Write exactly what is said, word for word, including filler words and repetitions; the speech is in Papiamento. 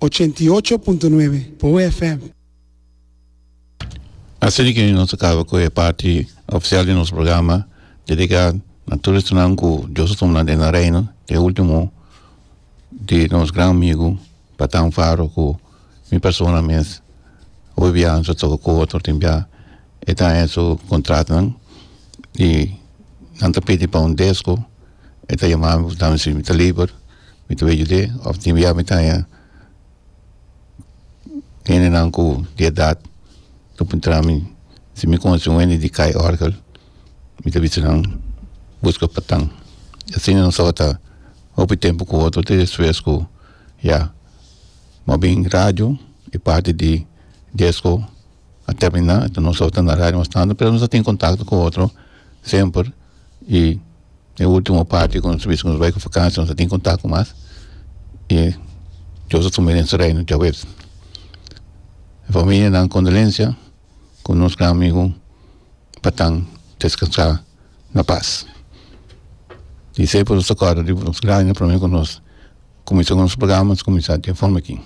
Ochenta i ocho punto nuebe Poe F M. Asina ku nos a kaba ku e parti ofisial di nos programa dediká na tur esnan ku Dios a tuma nan den nan reino, e último di nos gran amigu Patan Faro ku mi persona mes hopi bia nos a toka ku otro tin bia e ta haña su kontratonan i nan ta pidi pa un desko, e ta yama mi puntra mi si mi ta liber, mi ta bay yud'é òf tin bia mi ta haña hendenan ku di edat ta puntra mi si mi konosi un hende di kai òrgel, mi ta bisa nan buska Patan. Asina nos tabata hopi tempu ku otro te despues ku ya bo a bin radio e parti di desko a termina, enton nos tabata na radio mas tantu pero nos a tin kontakto ku otro semper i e ultimo parti ku nos a bisa ku nos bai ku vakansi nos a tin kontakto mas i Dios a tuma den su reino djaweps. E familianan kondolensia ku nos gran amigu Patan deskansá na pas. I semper nos ta kòrda riba nos grandi promé ku nos kuminsá ku nos programa, nos kuminsá di e forma aki.